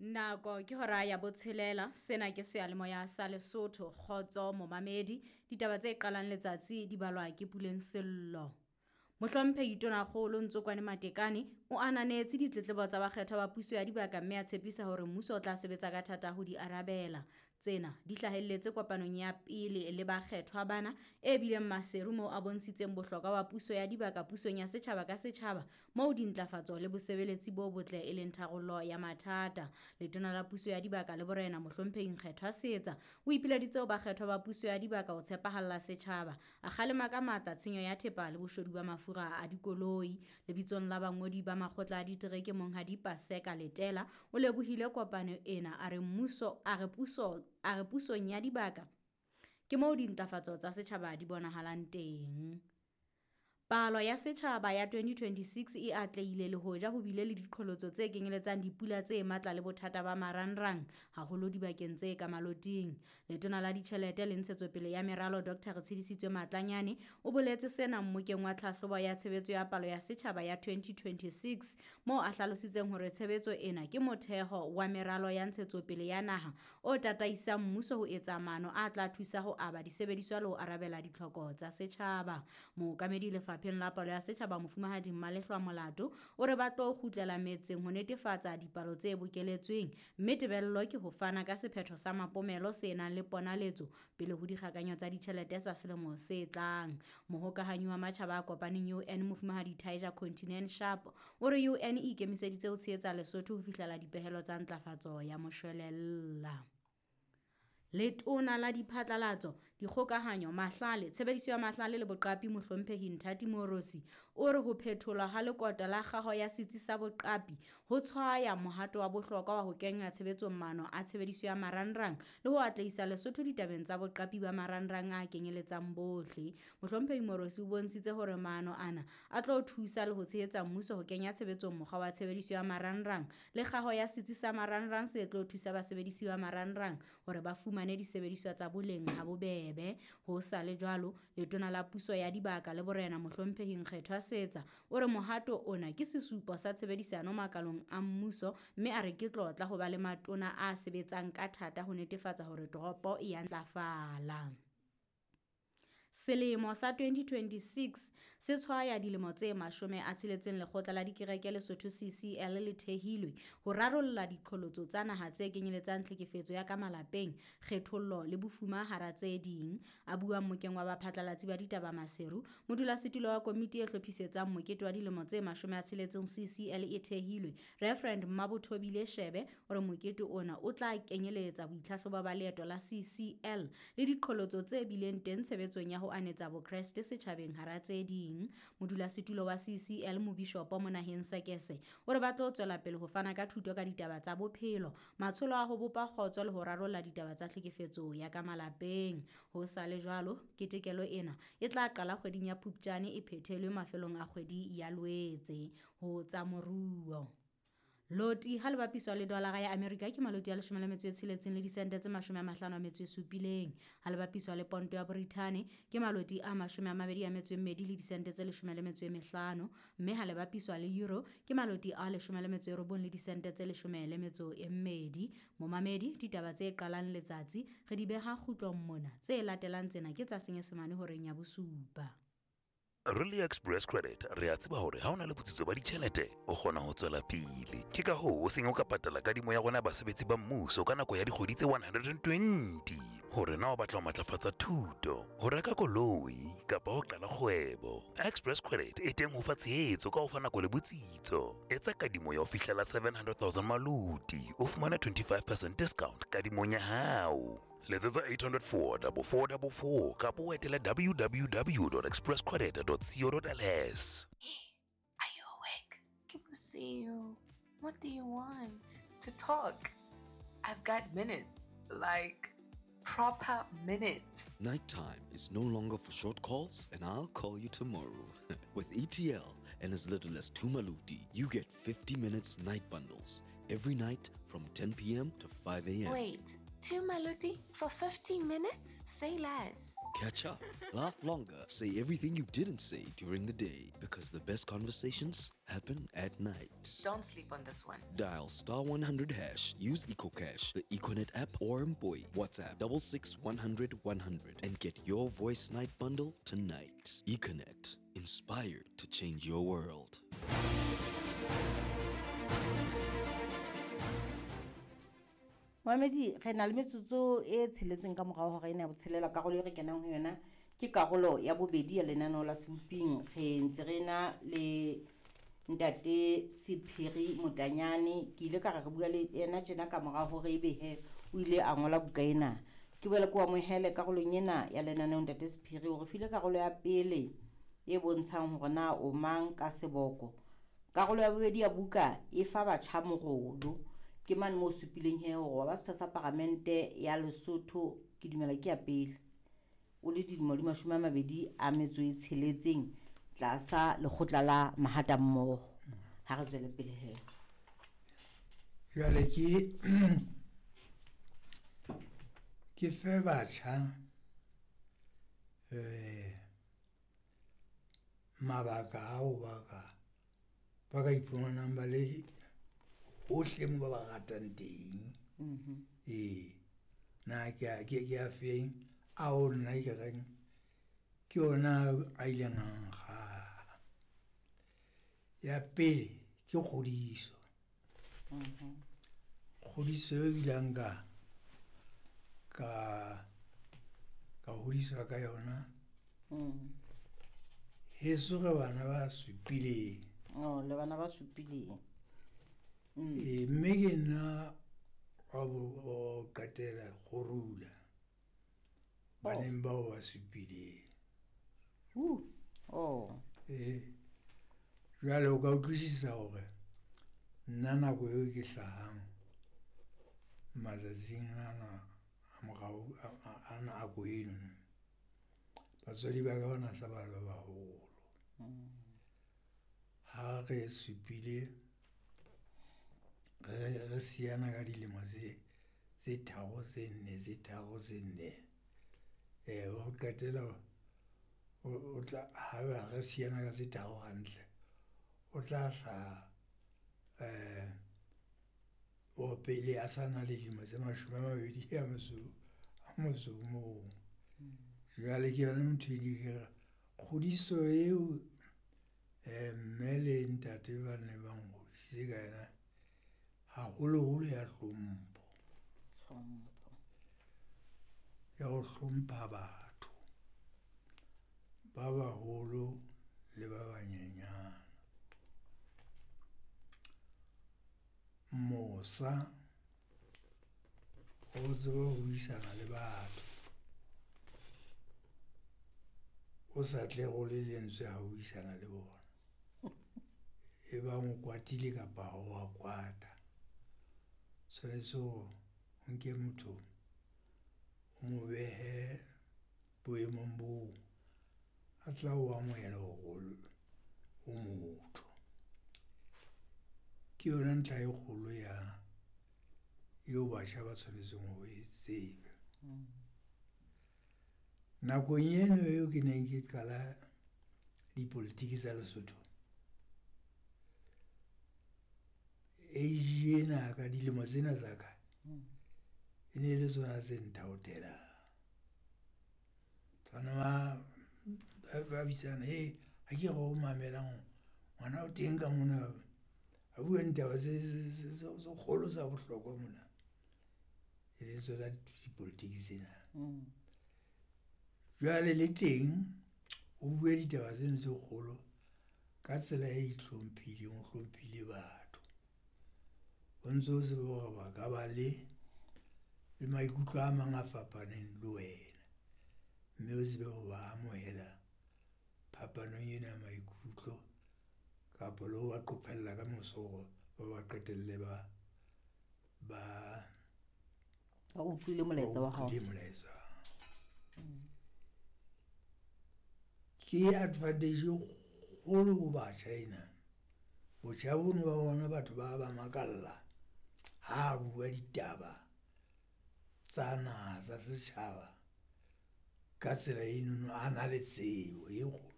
Nako ke hora ya botshelela, sena ke seyalemoya sa Lesotho, kgotso momamedi. Ditaba tse qalang letsatsi di balwa ke Puleng Sello. Mohlomphehi Tonakgolo Ntsokwane Matekane o ananetse ditletlebo tsa bakgethwa ba puso ya dibaka mme a tshepisa hore mmuso o tla sebetsa ka thata ho di arabela. Tsena di hlahelletse kopanong ya pele le bakgethwa bana e bileng Maseru moo a bontshitseng bohlokwa ba puso ya dibaka pusong ya setjhaba ka setjhaba moo dintlafatso le bosebeletsi bo botle e leng tharollo ya mathata. Letona la puso ya dibaka le borena Mohlomphehi Nkgethwa Seetsa o ipileditse ho bakgethwa ba puso ya dibaka ho tshepahalla setjhaba. A kgalema ka matla tshenyo ya thepa le boshodu ba mafura a dikoloi. Lebitsong la bangodi ba makgotla a ditereke Monghadi Paseka Letela o lebohile kopano ena a re mmuso a re puso a re pusong ya dibaka ke moo dintlafatso tsa setjhaba di bonahalang teng. Palo ya setjhaba ya 2026 e atlehile le hoja ho bile le diqholotso tse kenyeletsang dipula tse matla le bothata ba marangrang haholo dibakeng tse ka maloting. Letona la Ditjhelete le Ntshetsopele ya Meralo Dr. Retshidisitswe Matlanyane o boletse sena mmokeng wa tlhahlobo ya tshebetso ya palo ya setjhaba ya 2026 moo a hlalositseng hore tshebetso ena ke motheho wa meralo ya ntshetsopele ya naha o tataisang mmuso ho etsa maano a tla thusa ho aba disebediswa le ho arabela ditlhoko tsa setjhaba. Mookamedi lefapheng la palo ya setjhaba Mofumahadi Mmalehlwa Molato o re ba tlo kgutlela metseng ho netefatsa dipalo tse bokeletsweng mme tebello ke ho fana ka sephetho sa mapomelo se nang le ponaletso pele ho dikgakanyo tsa ditjhelete tsa selemo se tlang. Mohokahanyi wa Matjhaba a Kopaneng UN Mofumahadi Taija Kontinen Sharp o re UN e ikemiseditse ho tshehetsa Lesotho ho fihlela dipehelo tsa ntlafatso ya moshwelella. Letona la Diphatlalatso, Dikgokahanyo, Mahlale, Tshebediso ya Mahlale le Boqapi Mohlomphehi Nthati Moorosi o re ho phetholwa ha lekota la kgaho ya setsi sa boqapi ho tshwaya mohato wa bohlokwa wa ho kenya tshebetsong maano a tshebediso ya marangrang le ho atlehisa Lesotho ditabeng tsa boqapi ba marangrang a kenyeletsang bohle. Mohlomphehi Moorosi o bontshitse hore maano ana a tlo thusa le ho tshehetsa mmuso ho kenya tshebetsong mokgwa wa tshebediso ya marangrang le kgaho ya setsi sa marangrang se tlo thusa basebedisi ba marangrang hore ba fumane disebediswa tsa boleng ha bobebe. Ho sa le jwalo, letona la puso ya dibaka le borena Mohlomphehi Nkgethwa Seetsa o re mohato ona ke sesupo sa tshebedisano makalong a mmuso mme a re ke tlotla ho ba le matona a sebetsang ka thata ho netefatsa hore toropo e ya ntlafala. Selemo sa 2026 se tshwaya dilemo tse 60 Lekgotla la Dikereke Lesotho CCL le thehilwe ho rarolla diqholotso tsa naha tse kenyeletsang tlhekefetso ya ka malapeng, kgethollo le bofuma hara tse ding. A bua mmokeng wa baphatlalatsi ba ditaba Maseru, modulasetulo wa komiti e hlophisetsang mokete wa dilemo tse 60 CCL e thehilwe, Reverend Mmabothobile Shebe o re mokete ona o tla kenyeletsa boitlhahlobo ba leeto la CCL le diqholotso tse bileng teng tshebetsong ya ho anetsa Bokreste setjhabeng hara tse ding. Modulasetulo wa CCL Mobishopo Monaheng Sekese o re ba tlo tswela pele ho fana ka thuto ka ditaba tsa bophelo, matsholo a ho bopa kgotso le ho rarolla ditaba tsa tlhekefetso ya ka malapeng. Ho sa le jwalo, ketekelo ena e tla qala kgweding ya Phupjane e phethelwe mafelong a kgwedi ya Loetse. Ho tsa moruo. Loti ha le bapiswa le dolara ya Amerika ke maloti a 16 le disente tse 57. Ha le bapiswa le ponto ya Borithane ke maloti a 22 le disente tse 15, mme ha le bapiswa le euro ke maloti a 19 le disente tse 12. Momamedi, ditaba tse qalang letsatsi re di beha kgutlong mona. Tse latelang tsena ke tsa Senyesemane horeng ya bosupa. Re le Express Credit re a tseba hore ha o na le botsitso ba ditjhelete o kgona ho tswela pele. Ke ka hoo o seng o ka patala kadimo ya rona ya basebetsi ba mmuso ka nako ya dikgwedi tse 120. Hore na o batla ho matlafatsa thuto, ho reka koloi kapa ho qala kgwebo, Express Credit e teng ho fa tshehetso ka ho fa nako le botsitso. Etsa kadimo ya ho fihlela 700,000 maloti, o fumane 25% discount kadimong ya hao. Letsetsa 804 4444 kapa o etele www.expresscredit.co.ls. Are you awake? Ke bosiu. What do you want? To talk. I've got minutes. Like, proper minutes. Nighttime is no longer for short calls, and I'll call you tomorrow. With ETL and as little as 2 maluti, you get 50 minutes night bundles every night from 10 p.m. to 5 a.m. Wait, 2 maluti for 15 minutes? Say less. Catch up, laugh longer, say everything you didn't say during the day, because the best conversations happen at night. Don't sleep on this one. Dial star 100 hash, use EcoCash, the Econet app, or Mpoy. WhatsApp 66 100 100 and get your voice night bundle tonight. Econet, inspired to change your world. Moamedi, re na le metsotso e tsheletseng ka morao hora ena ya botshelela. Karolo e re kenang ho yona ke karolo ya bobedi ya lenaneo la Seboping. Re ntse re na le ntate Sephiri Motanyane. Ke ile ka re re bua le yena tjena ka mora hore ebe he o ile a ngola buka ena. Ke boele ke o amohele karolong ena ya lenaneo ntate Sephiri. O re file karolo ya pele e bontshang hore na o mang ka seboko. Karolo ya bobedi ya buka e fa batjha morolo. Ke mane moo supileng he hore wa ba setho sa paramente ya Lesotho, ke dumela ke ya pele, o le dilemo di 26 tlasa lekgotla la mahata mmoho. Ha re tswele pele he. Jwale ke fe batjha mabaka ao ba ka iphumanang ba le hohle mo ba ba ratang teng. Na ke a feng ao nna ke reng ke yona a ileng a nkgaha. Ya pele ke kgodiso. Kgodiso e bileng ka hodiswa ka yona. Heso re bana ba supileng. Oh, le bana ba supileng. Mme ke nna wa ho qetela kgorula baneng bao ba supileng. Jwale o ka utlwisisa hore nna nako eo ke hlahang matsatsing ana a morao a nako eno, batswadi ba ka ba na sa ba le baholo. Ha re supile re siyana ka dilemo tse tharo tse nne tse tharo tse nne. Ho qetela o tla ha re siyana ka tse tharo hantle, o tla hlaha o pele a sa na le dilemo tse 21. Jwale ke yona ntho e ke re kgodiso eo mme le ntate ba ne ba nhodisitse ka yona, haholoholo ya hlompho. Ya ho hlompha batho ba baholo le ba banyenyana. Mosa, o tsebe ho buisana le batho, o sa tle role lentswe ha o buisana le bona. E bang o kwatile kapa ha wa kwata, tshwanetse hore o nke motho o mo behe boemong boo a tla o amohela hore o motho. Ke yona ntlha e kgolo ya eo batjha ba tshwanetseng ho e tseba. Nakong eno eo ke neng ke qala dipolitiki tsa Lesotho, age ena ka dilemo tsena tsa ka e ne le tsona tse nthaothelang. Tshwana ba bitsana, he ha ke re o mamelang ngwana o teng ka mona a bua ditaba tse kgolo tsa bohlokwa mona. E le tsona dipolitiki tsena. Jwale le teng o bue ditaba tseno tse kgolo ka tsela e itlhomphileng, o hlomphile batho. O ntso tsebe hore ba ka ba le maikutlo a mang a fapaneng le wena, mme o tsebe ho ba amohela phapanong ena ya maikutlo kapa le ho ba qophella ka moso hore ba ba qetelle ba utlwile molaetsa wa hao. Molaetsa. Ke advantage e kgolo ho batjha ena. Botjha bono ba bona batho ba ba makalla ha bua ditaba tsa naha tsa setjhaba Ka tsela enono a na le tsebo e kgolo,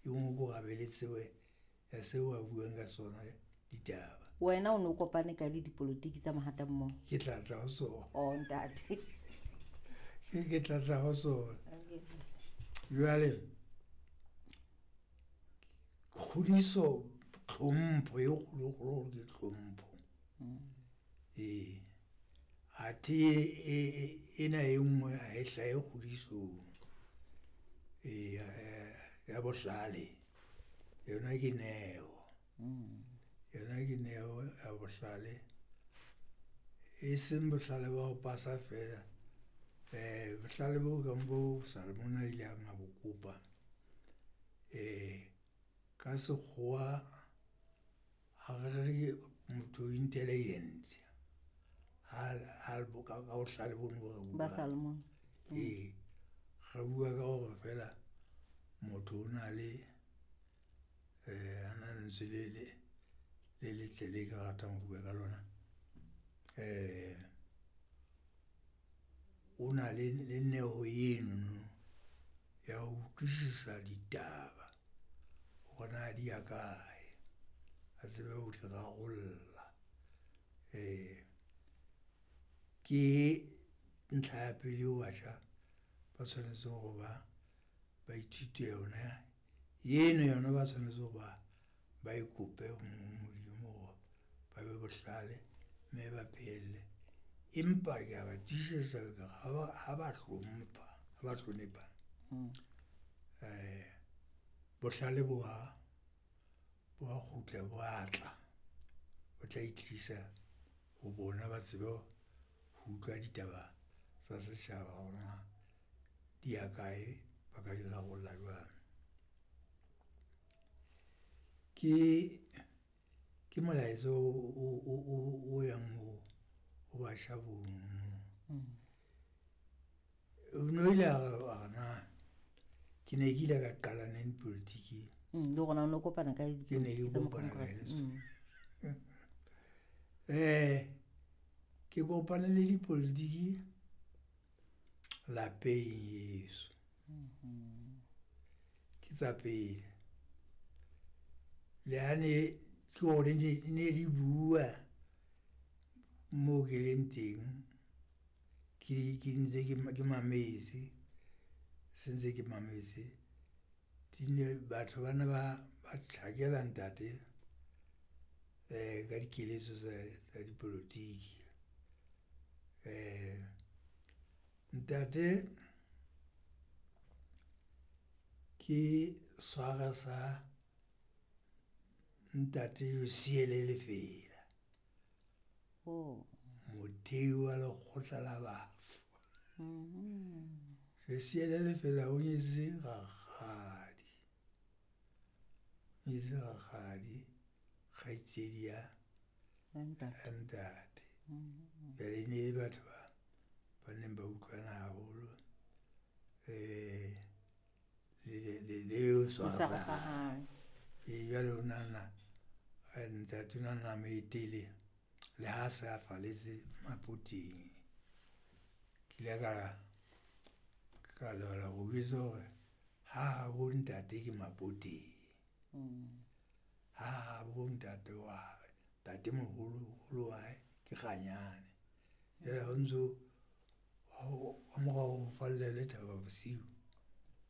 e nngwe ke hore a be le tsebo ya seo a buang ka sona ditaba. Wena o ne o kopane kae le dipolotiki tsa Mahata mmoho? Ke tla tla ho sona. Oh ntate. Ke tla tla ho sona. Jwale kgodiso, tlhompho e kgolo kgolo ke tlhompho. Ee, athe ena e nngwe ha e hlahe kgodisong. Ee, ya bohlale yona ke neo. Yona ke neo ya bohlale, e seng bohlale ba ho pasa feela. Bohlale bo kang bo Salomon a ileng a bo kopa ka sekgowa ha re re motho o intelligent ha ka bohlale bono bo re Ba Salomon. Ee, re bua ka hore feela motho o na le ana lentswe le letle le ka ratang ho bua ka lona. O na le neo enono ya ho utlwisisa ditaba hore na di ya kae, a tsebe ho di rarolla. Ke ntlha ya pele eo batjha ba tshwanetseng hore ba ithute yona. Eno yona ba tshwanetse hore ba e kope ho Modimo hore ba be bohlale mme ba phehelle. Empa ke a ba tiisetsa ka re ha ba hlompha, ha ba hlonepha bohlale bo a kgutla, bo a tla. Bo tla itlisa ho bona, ba tsebe ho utlwa ditaba tsa setjhaba hore na di ya kae, ba ka di rarolla jwang. Ke molaetsa o yang ho batjha bonono. O no ile a re na ke ne ke ile ka qala neng dipolotiking? Le hore na o no kopana kae le Ke ne ke dipolotiki tsa kopana kae le Congress. tsona? Ke kopane le dipolotiki lapeng heso. Ke tsa pele. Le ha ne ke hore ne di bua moo ke leng teng, ke ntse ke mametse, se ntse ke mametse. Batho ba ne ba tjhakela ntate ka dikeletso tsa dipolotiki. Ntate ke swara sa ntate Josiele Lefela. Mothei wa lekgotla la bafu. Josiele Lefela o nyetse rakgadi, o nyetse rakgadi kgaitsedi ya ntate. Jwale e ne le batho ba neng ba utlwana haholo le swara sa hae. Ee, jwale o nahana ntate o na nna a mo etele le ha se a falletse Mapoteng. Ke ile ka lebala ho jwetsa hore ha habo ntate ke Mapoteng. Ha habo ntate wa hae, ntatemoholo holo wa hae ke Kganyane. Jwale ha o ntso ka mora hore o fallele Thaba Bosiu.